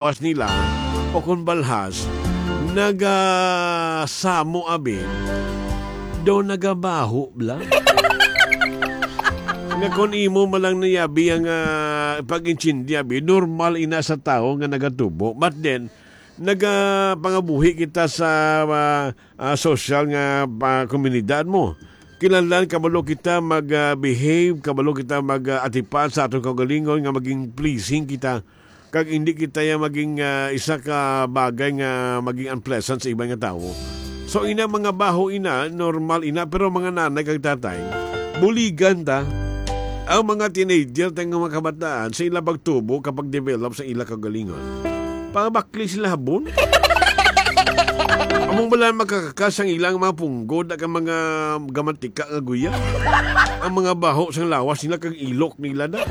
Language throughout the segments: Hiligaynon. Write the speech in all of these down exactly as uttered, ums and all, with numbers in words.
lawas nila o kon balhas, nagasamo abi, daw nagabaho bala. Nga kon imo man lang niyabi ang, ah, pag-intindi abi, normal ina sa tawo nga nagatubo. But then, nagapangabuhi kita sa, ah, ah, social nga, ah, komunidad mo. Kinahanglan kabalo kita mag, ah, behave, kabalo kita mag, ah, atipan sa aton kaugalingon nga maging pleasing kita. Kag hindi kita ya maging, ah, isa ka bagay nga maging unpleasant sa iban nga tawo. So, ina, mga baho ina, normal ina, pero mga nanay kag tatay, buligan ta. Ang mga teenager, tang mga kabataan, sa ilang pagtubo, kapag develop sa ilang kaugalingon, pangabakli sila habon. Amo bala makakakas ang ilang mga punggod, ang mga gamatika nga guya. Ang mga baho sang lawas nila kag ilok nila na.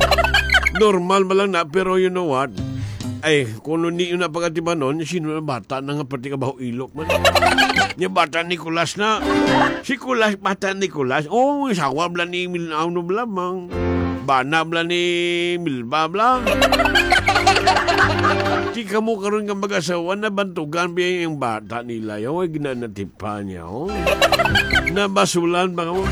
Normal man lang na, pero you know what? Ay, kung hindi yun ang pagkatimanon, sino na bata na nga pati ka baho ilok man? Nya bata Nicolas na. Si Kulas, bata Nicolas. Oh, sawa bala ni Mil-, ano bala, mang bana bala ni Milba bala. Di kamo karon nga mag-asawa, nabantugan biya yung bata nila. Yung ginanatipan niya, oh. Nabasulan ba kamo?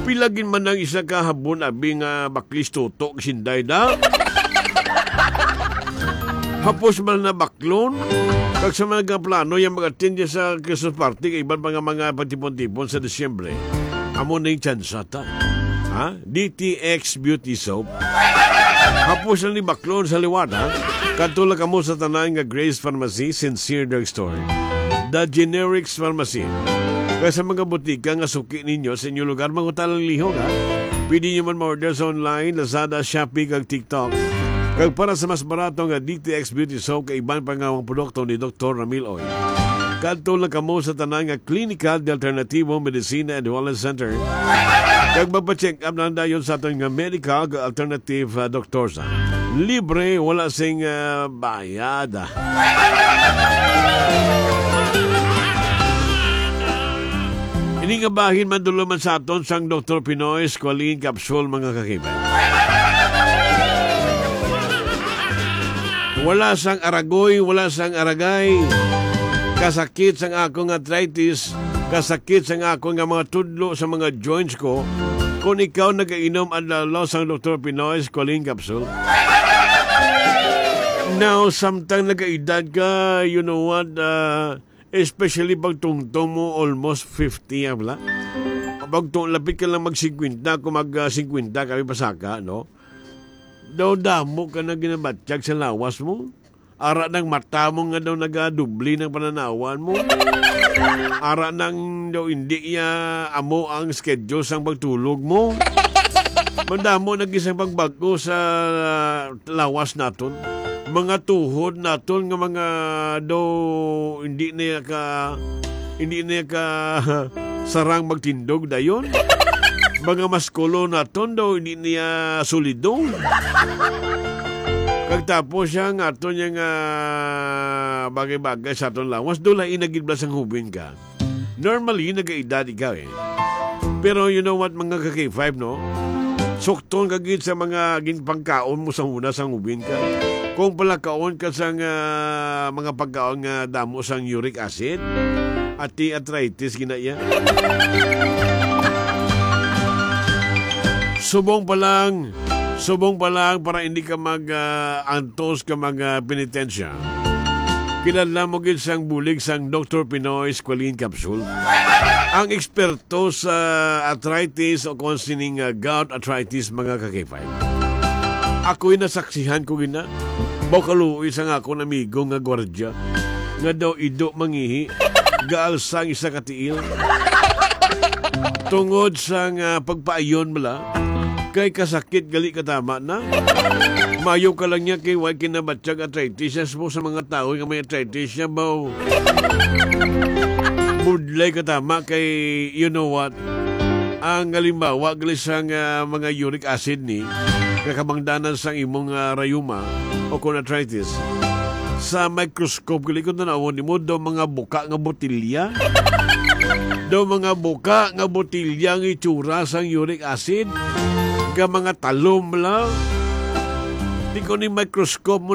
Pilagin man ang isa ka habon, abi nga baklis tutok, sinday da. Hapos man na baklon, kag sa mga plano yung mag-attend niya sa Christmas party, kay iban pa nga mga pagtipon-tipon sa Disyembre. Amo na yung tsansa ta. Ha? D T X Beauty Soap. Hapos na ni baklon sa liwat, ha? Kadto lang kamo sa tanan nga Grace Pharmacy, Sincere Drugstore, The Generics Pharmacy. Kaya sa mga butika nga suki ninyo sa inyong lugar, mangutana lang lihog, ha? Pwede nyo man ma-order sa online, Lazada, Shopee, kag TikTok. Kag para sa mas barato nga D T X Beauty Soap, kay iban pa nga mga produkto ni Doktor Ramil Oy. Kadto lang kamo sa tanan nga Klinika de Alternativo Medicina and Wellness Center. Kag magpa-check up na dayon sa aton nga medical alternative, ah, doktor sa libre, wala sing, ah, bayad. Ini nga bahin, mandulo man sa aton sang Doktor Pinoy Squalene Capsule, mga kakibay. Wala sang aragoy, wala sang aragay. Kasakit sang akong arthritis, kasakit sang akong nga mga tudlo sa mga joints ko. Kung ikaw nagainom adlaw sang Doktor Pinoy Squalene Capsule, now, samtang nagaedad ka, you know what, ah, especially pag tungtong mo almost fifty, ah, wala? Pag tu-, lapit ka lang mag singkwenta, kung mag, ah, singkwenta kami pasaka, no? Daw damo ka na ginabatyag sa lawas mo. Ara nang mata mo nga daw nagadubli ng pananawan mo. Ara nang daw hindi iya amo ang schedule sang pagtulog mo. Madamo na gisang pagbag-o sa lawas naton. Mga tuhod naton nga mga daw hindi na ka, hindi na ka sarang magtindog dayon. Mga maskulo naton daw hindi niya solidong. Kag tapos siya nga ato niya nga bagay-bagay sa aton lawas, dula inagid bala sang hubin ka. Normally, nagaedad ikaw eh. Pero you know what, mga ka-K five, no? Sukton ka gid sa mga ginpangkaon mo sa una sang ubin ka. Kung palakaon ka sang, ah, mga pagkaon nga damo sang uric acid, ati arthritis gina iya. Subong pa lang, subong pa lang para hindi ka mag, ah, antos ka mag, ah, penitensya. Kinahanglan mo gid sang bulig sang Doktor Pinoy Squalene Capsule. Ang eksperto sa arthritis o kung sining, ah, gout arthritis, mga ka-K five. Ako'y nasaksihan ko gina. Baw kaluoy sang akon amigo nga gwardya nga daw ido mangihi, gaalsa ang isa ka tiil. Tungod sang, ah, pagpaayon bala, kay kasakit gali katama na. Mayo ka lang niya kay way kinabatyag arthritis. Yes mo sa mga tao nga may arthritis siya, baw. Budlay katama kay, you know what? Ang halimbawa, gali sang, ah, mga uric acid ni, kakamangdanan sang imong, ah, rayuma o kon arthritis. Sa microscope, gali kung tanawon nimo, daw mga buka nga botilya. Daw mga buka nga botilya ang itsura sang uric acid. Nga mga talom lang. Di ko ni microscope mo